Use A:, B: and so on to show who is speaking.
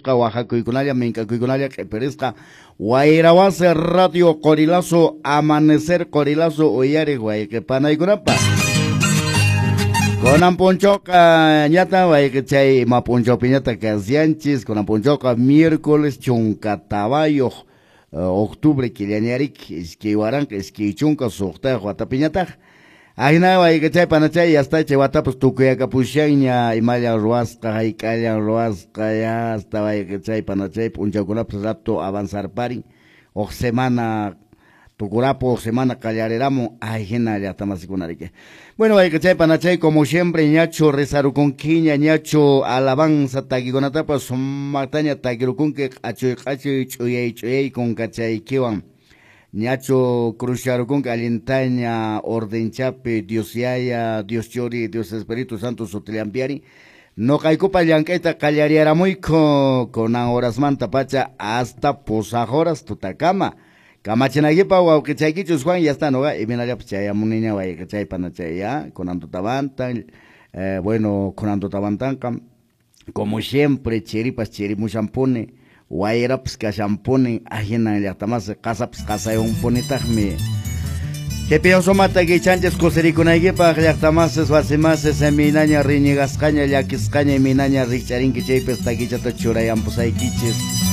A: q'ipirisqa waqakuykunalla mink'akuykunalla q'ipirisqa Wayrawasi Radio Qorilazo Amanecer Qorilazo uyariq wayqi panaykunapaq. Kunan p'unchawqa ñata wayqichay ima p'unchawpiñataq kasyanchis, kunan p'unchawqa miércoles 14 octubre killañarik 2026 watapiñataq. Ahina wayqichay panachay yasta chay watapas tukuyakapushanña imalla ruwasqa hayk'allan ruwasqa ya hasta wayqichay panachay p'unchawkunapas rato avanzarparin huk semana tukurapu huk semana qallariramun ahina llaqtamasikunariki. Bueno, wayqichay panachay, como siempre ñachu rezarukunkiña, ñachu alabanza takikunatapas sumaqtaña takirukunki q'achuy q'achuy ch'uyay ch'uyay kunkachaykiwan. Ñachu cruzcharukunki allintaña ordenchapi Dios Yaya, Dios Churi, Dios Espíritu Santo sutillampiari. Noqaykupa llank'ayta qallariyaramuyku kunan horasmanta pacha hasta pusaq horas tutakama. Kamachinaykipa wawqichaykichus Juan ya está noqa iminallapas chayamuniña wayqichay panachay ya kunan tutamanta bueno kunan tutamantanqa como siempre chiripas chirimushanpuni wayrapas kashanpuni ahinan llaqtamasi qasapas qasayunpunitaqmi. Chaypi sumaqta kichanchis kusirikunaykipaq llaqtamasis wasimasis minaña riñigasqaña llakisqaña minaña rikch'arinki chaypis takichata churayampusaykichis.